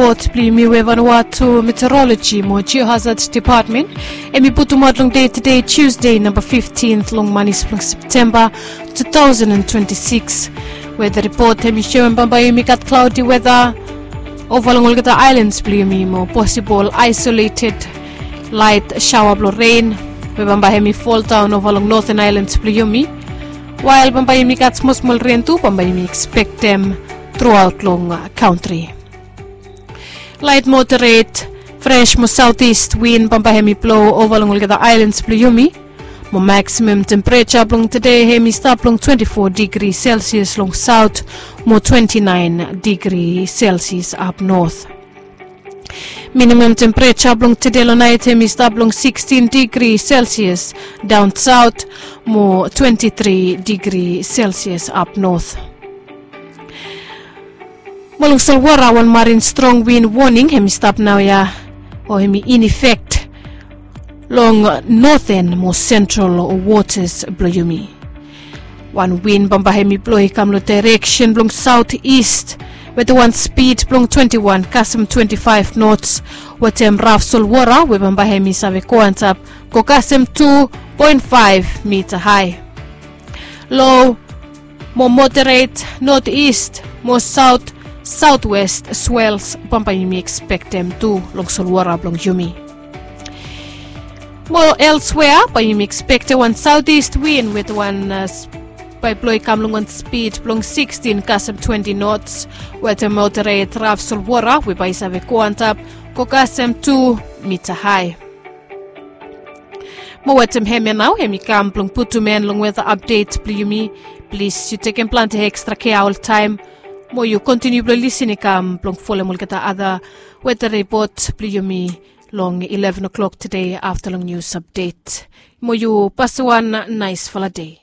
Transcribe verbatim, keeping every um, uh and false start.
Ripot blong yumi we Vanuatu Meteorology mo Geohazard Department hemi putumaot long dei tede, Tuesday, namba fifteenth long manis blong Septemba two thousand and twenty-six. Weta ripot hemi soem bambae yumi gat cloudy weta ova long olgeta aelans blong yumi mo posibol aesoleted laet saoa blong ren we bambae hemi foldaon ova long noten aelans blong yumi. Wael bambae yumi gat smosmol ren tu bambae yumi ekspektem truaot long kantri. Laet moderet fres mo saotis win bambae hemi blo ova long olgeta aelans blong yumi. Mo maksimam tempereja blong tede hemi stap long twenti fo digri selsias long saot mo twenti naen digri selsias apnot. Minimam tempereja blong tede long naet hemi stap long sikstin digri selsias daon saot mo twenti tri digri selsias apnot. Mo long solwara wan marin strong win woning hemi stap naoia o hemi in efek long noten mo sentral wotas blong yumi. Wan win bambae hemi blo i kam long daereksen blong saotis weta wan spid blong twenti wan kasem twenti faef nots, wetem raf solwara we bambae hemi save go antap go kasem tu poen faef mita hae. Lo mo moderet notis mo saot saotwes swels bambae yumi ekspektem tu long solwara blong yumi. Mo elswea bae yumi ekspektem wan saotis win weta wan bae blo i kam long wan spid blong sikstin kasem twenti nots, weta moderet raf solwara we bae i save go antap go kasem tu mita hae. Mo wetem hemia nao hemi kam blong putum en long weta apdet blong yumi. Plis yu tekem plante ekstra kea oltaem mo yu kontiniu blong lisin i kam blong folem olgeta ada weta ripot blong yumi long ileven o'klok tede afta long nius apdet. Mo yu pasem wan naesfala dei.